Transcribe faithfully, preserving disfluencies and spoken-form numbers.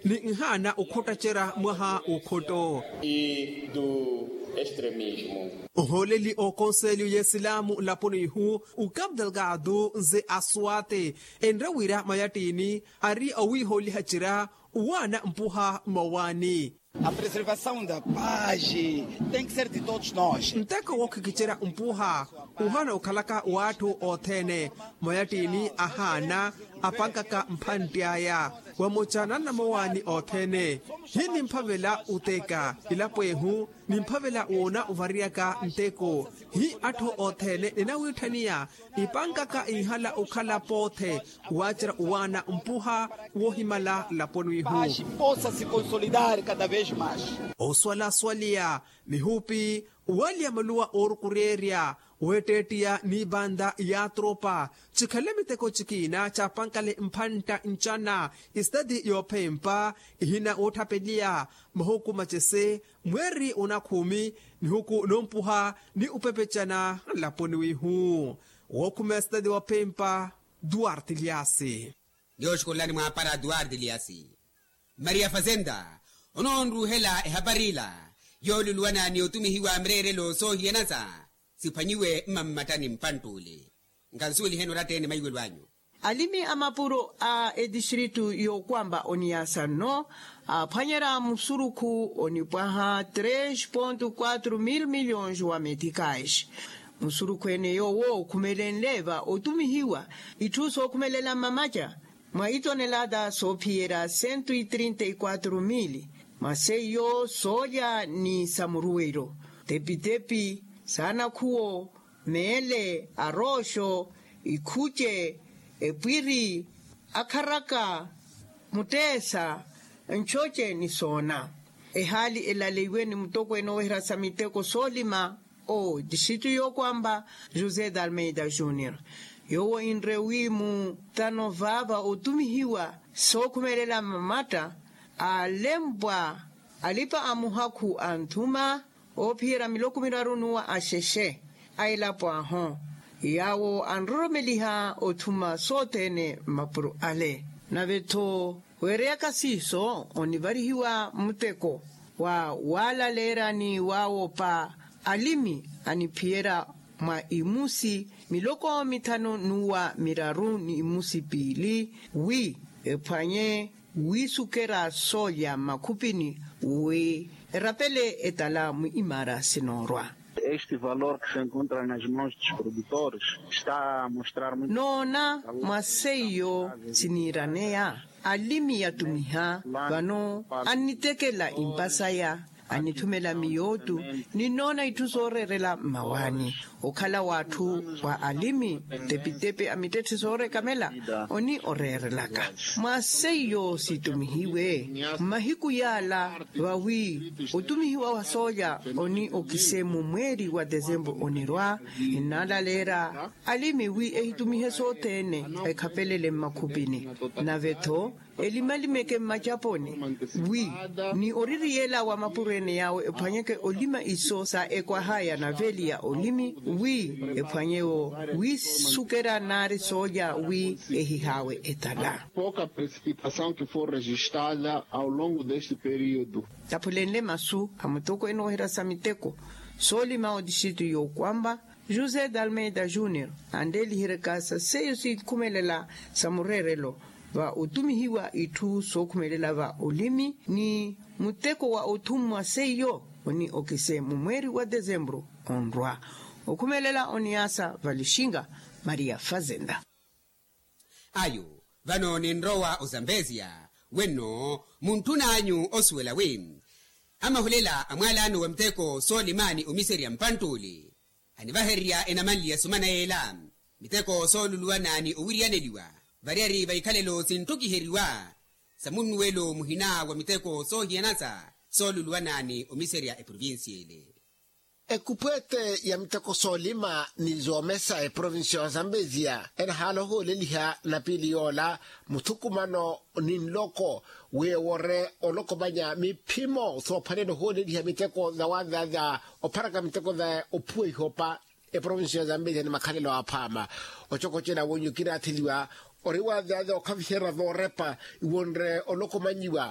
ni nhaana okhottatterya mwaha w'okhotto. Nhooleli ookonselyo y'esilaamu nlaponi ihu, ukapu delgado nze aswate enre wira mayattiini ari owiihooliha ttirya, owaana mpuha mmawaani. A preservasaw da paz tem que ser de todos nós. Nteko wookhikitterya mpuha, ohana okhalaka w'atthu othene. Mayattiini ahaana apankaka mphantti aya, vamoca nannamowaani othene. Hi nimphavela oteka ilapo ehu, nimphavela woona ovariyaka nteko. Hi atthu othene ninawiitthaniya ipankaka inhala okhala poothe, waacerya owaana mpuha woohimala nlaponi ihu. Paz possa se consolidar cada vez mais. Oswalaswaliya mihupi, owaliya maluwa oorukuryerya, weetteettiya n'ibanda ya tropa, cikhale miteko cikiina caapankale mphantta ncana. Esitati yoophempa ihina woottapeliya mahuku macese, mweeri onakhuumi, nihuku noompuha ni opepecana nlaponi wihu. Wookhumeya esitati woophempa, duarte liasi. Nyooxukulelani mwaapara duarte liasi. Maria fazenda, onoonruuhela ehapari ila yooluluwana ni otumihiwa mireerelo soohiyanasa, siphwanyiwe mmammattani mpantt'ule. Nkansuweliheni oratta-ene maiwelo anyu. Alimi a mapuro a etistritu y'okwamba oniyaasa nno, aaphwanyerya musurukhu onipwaha tres ponto quatro mil milhões wa meticais. Musurukhu ene yoowo okhumelenle va otumihiwa itthu sookhumelela mmamaca, mwa itonelata soophiyerya cento e trinta e quatro mil, mwa seiyo soolya ni samuruwelo, tepitepi, saanakhuwo, meele, arooxo, ikhuce, epwiri, akharaka, mutteesa, nchoce ni soona. Ehaali elaleiwe ni mutokweene oweherya sa miteko soolima, o distritu y'okwamba, josé d'almeida junior. Yoowo inre wi muttano vaava otumihiwa sookhumelela mmamatta, aalempwa alipa a muhakhu anthuma, oophiyerya miloko miraru n'uwa axexe a elapo ahu, yaawo anroromeliha othuma sothene mmapuro ale. Nave-tho, weereyaka siiso onivarihiwa muteko wa waalaleerya ni waawopa alimi aniphiyerya mwa imusi miloko mithanu n'uwa miraru ni imusi piili, wi ephwanye wiisukerya soolya mmakhupini, wi erapele etala mwiimaara sinoorwa. Este valor que se encontra nas mãos dos produtores está a mostrar muito. Noona mwa seiyo siniiraneya alimi yatumiha vano, annitekela impa saya, anithumela miyootu, ninnoona itthu sooreerela mmawaani. Okhala w'atthu wa alimi, tepitepi a mittetthe soorekamela, oni oreerelaka. Mwa seiyo situmihiwe mmahiku yaala, vawi otumihiwa wa soolya oni okise mu mweeri wa tesempuru onirwa, ennalaleerya alimi wi ehitumihe sothene, ekhapelele mmakhupini. Nave-tho, elimalimeeke mmacaponi, wi ni oririyela wa mapuro ene yaawo ephwanyeke olima iso sa ekwahaya na veeli ya olimi, wi ephwanyewo wiisukerya naari soolya wi ehihaawe etala. Pouca precipitação que foi registrada ao longo deste período. Taphulenle masu a mutokweene ooherya sa miteko soolima otixitu y'okwamba, josé d'almeida junior, anreeliheryaka sa seiyo sinkhumelela sa mureerelo, va otumihiwa itthu sookhumelela va olimi ni muteko wa othummwa seiyo, oni okise mu mweeri wa tesempuru onrwa. Okhumelela oniyaasa valixinga, maria fazenda. Ayo, vano ninrowa ozambezia, wenno muntthun'anyu osuwela wi amahulela a mwaalano wa miteko soolima ni omiserya mpantt'ule, anivahererya enamanli ya sumana yeela, miteko sooluluwana ni owiriyaneliwa variyari va ikhalelo sintthukiheryiwa sa munnuwelo muhina wa miteko soohiyanasa sooluluwana ni omiserya eprovincia ele. Ekupweete ya miteko soolima ni zoomesa eprovincia ya zambezia enahaala ohooleliha napiili yoola muthukumano ni nloko, wi ewore olokomanya miphimo soophwanela ohooleliha miteko za wazaza opharaka miteko za ophuwa ihopa. Eprovincia ya zambezia ni makhalelo aphwaama ocokocela wonyu kinaatheliwa ori wazaza okhaviherya voorepa iwonre olokomanyiwa.